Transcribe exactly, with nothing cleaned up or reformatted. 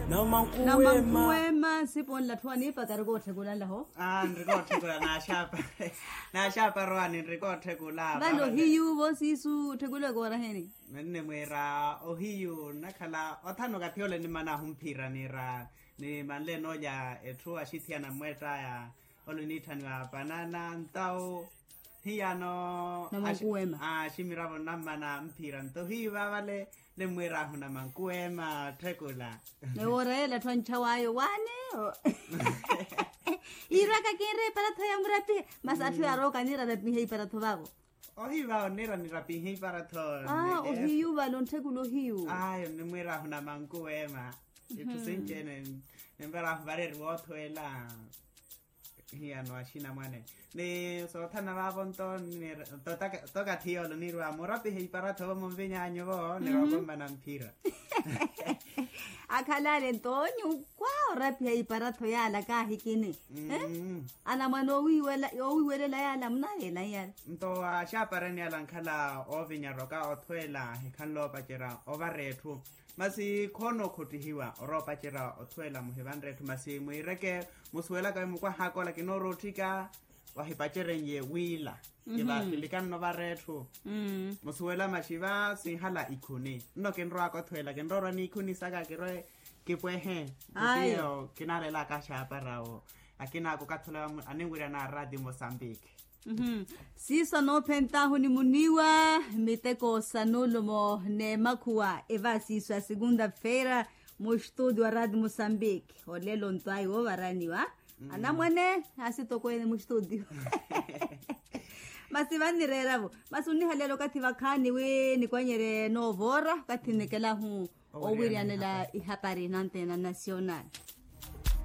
Namankuwema. Sipo nlatthu aniipaka arikootthekula nlaho. Nrikootthekula. Naaxaapa rowaani nrikootthekula. Vano hiyu vo siisu otthekula koora heni? Menne mwiira ohiyu nnakhala othana okathi ole nimanaahu mphira niira, nimanle noolya etthu axithiyana mmweett'aya, ole oniitthaniwa panana ntawu. Hiyano namankuwema. Aximiravo nnammana mphira nto hiyu vaavale nimmwiirahu namankuwema otthekula. Newoora yeela atthu anchaw'ayo waani? Iiraka kinre iparatho ya murapihe. Masi atthu yaarooka niira arapihe iparatho vaavo. Ohiyu vaavo niira nirapihe iparatho. Ohiyu vale ontthekula ohiyu. Ayo nimwiirahu namankuwema. Itthu sinci-ene nimparahu vareeriwa othweela. Hiyano axinamwane ni soothana vaavo nto. Toka thiyoolo niirwa murapihe iparatho vo munviny'anyu vo nirokommana mphira. Akhalale nto nyukwaa orapiha iparatho yaala kaahikini. Anamwane owiiwelela yaala munaaveela iyala. Nto axaaparani yaala nkhala oovinya aroka othweela hikhanle oopacerya ovara etthu. Masi khoona okhottihiwa oroopacerya othweela muhivanre etthu masi mwiireke. Musuwelaka wi mukwahaaka ola kinoorootthika wahipaceren'ye wiila. Kivaakhilikanno vara etthu. Musuwela maxi va sinhala ikhuni nno kinrowaaka othweela kinroorwa n'ikhuni saka kirwe kipwehe. Kutiyo kinaalelaka axaaparawo akinaaku okathi ole aninwirya na radio mosambiki. Siiso anoophent'ahu ni muniiwa miteko sa nuulumo n'emakhuwa eva siiso ya segunda feira. Mustudio wa radio mosambiki olelo nto ayi woovaraniwa anamwane asitokweene mustudio. Masi vannireeravo masi onnihaleela okathi vakhaani wi nikwanyerye noovoora okathi nnekelahu owiriyanela ihapari nantena nasional.